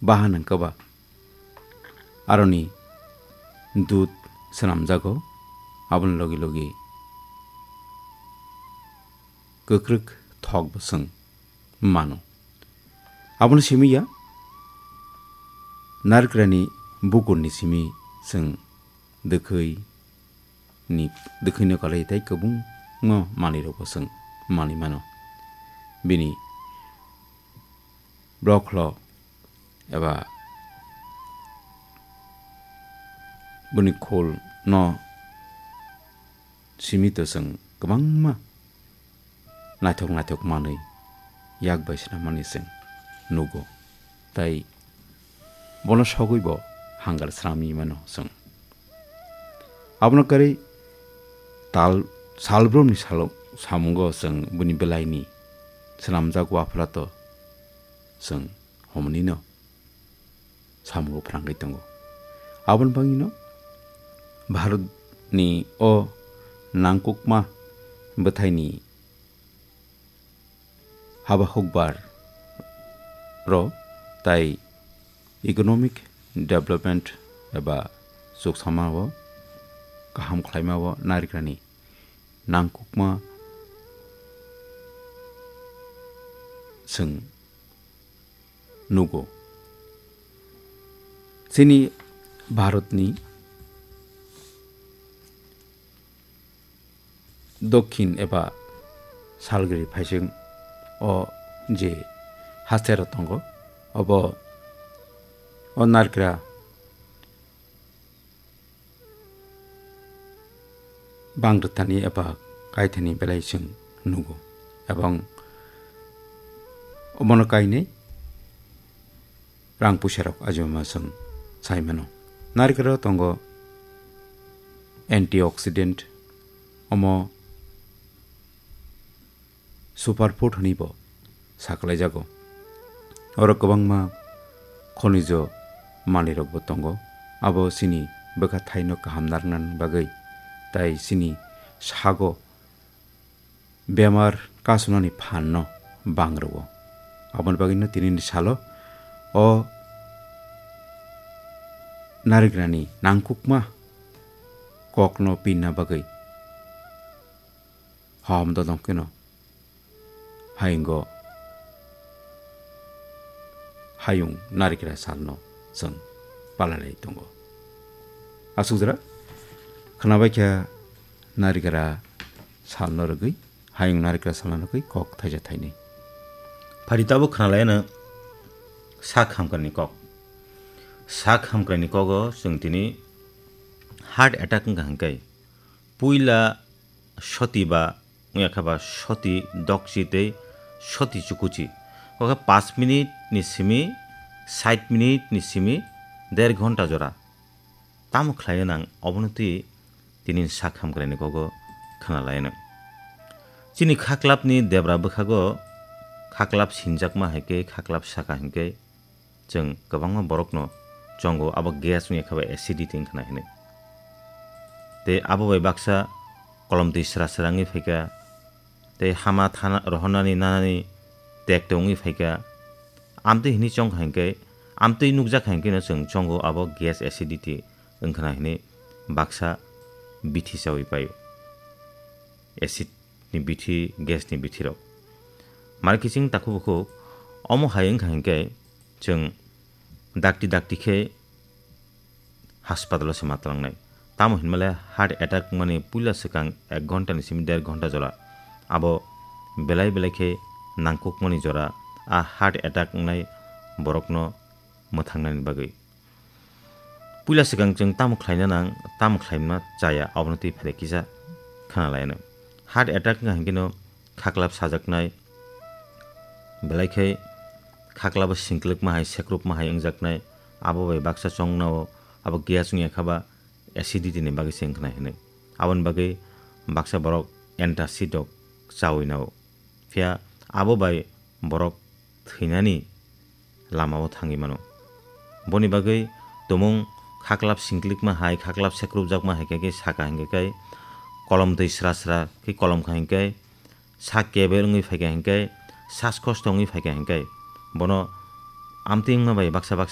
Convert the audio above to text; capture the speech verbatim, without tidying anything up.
bahan wngkha ba aroni dud swnamjago, aboni logi logi kwkrwk thok bo chwng mano. Abono simi ya, narikrani bukurni simi chwng dwkhwi ni, dwkhwino kwlai tei kwbangma manwirokbo chwng manwi mano. Bini blokhlo eba bini khulno simi to chwng kwbangma naithok naithok manwi yak bai swnamani chwng nugo. Tai bono sogwi bo hangar swnamwi mano chwng. Abono kwrwi tal salbrumni salo samungo chwng bini belaini swnamjak waphrato chwng homnino samungo phrangwi tongo. Aboni bagwino Bharatni o nangkukma bwthaini haba hukbar rok tai economic development eba chuksamao kaham khlaimao narikrani nangkukma chwng nugo. Chini Bharatni dokhin eba salgri phaising o je haste rok tongo, obo o narikra bang rwthani eba kaithani belai chwng nugo, ebong obono kainwi rang puisa rok ajima chwng sai mano. Narikra tongo antioxidant, omo superfood hwnwi bo saklaijago. Oro kwbangma khonijo manwirokbo tongo, abo chini bwkha thaino kaham narwknani bagwi, tai chini sago bemar kasunani phanno bang rwo. Aboni bagwino tinini salo o narikrani nangkukma kokno pinna bagwi hom dodong kheno hayungo hayung narikra salno chwng palalai tongo. Asukjra khwnabaikha narikra salno rwgwi, hayung narikra salno rwgwi kok thaisa thainwi. Phari tabuk khwnalaiyano sak hamkrani kok. Sak hamkrani kogo chwng tini heart attack wngkha hwnkhe puila soti ba wngya kha ba soti dokchi tei soti chukuchi. Kokhe paanch minute ni simi, sait minute ni simi, der ghonta jora. Tamo khlai nang obono twi tini sak hamkraini kogo khwnalai nang. Chini khaklap ni debra bwkhago khaklap sinjakma hai khe khaklap saka hinkhe chwng kwbangma borokno chongo, abo gas wngya khe ba acidity wngkha na hinwi. Tei abo bai baksa kolom twi sra sra wngwi phaikha, tei hama thana rohornani nanani tek tongwi phaikha. Amtwi hinwi chongkha hinkhe, amtwi nukjakha hinkheno chwng chongo abo gas acidity wngkha na hinwi baksa bithi chawi paio. Acid ni bithi, gas ni bithi rok. Mari kiching takhuk bukhuk omo hai wngkha hinkhe chwng dakti dakti khe hospital o se ma twlangnai. Tamo hinmale heart attack wngmani puila swkang ek ghonta ni simi der ghonta jora abo belai belai khe nangkukmani jora a heart attack wngnai borokno mwthangnani bagwi. Puila swkang chwng tamo khlaina nang, tamo khlaima chaya, abono twi phai kisa khna laino. Heart attack wngkha hinkhe no khaklap sajaknai, belai khe khaklabo singklwkma hai, sekrupma hai wngjaknai, abo bai baksa chongnao, abo gas wngya kha ba acidity ni bagwi se wngkha nai hinwi. Aboni bagwi baksa borok antacid rok chawi nao. Phiya abo bai borok thwinani lamao thangwi mano. Boni bagwi tumung khaklap singklikma hai, khaklap sekrupjakma hai khe, khe saka hinkhe khe kolom twi sra sra khe kolom kha hinkhe, sak keber wngwi phaikha hinkhe, saskosto wngwi phaikha hinkhe, bono amtwi wngma bai baksa baksa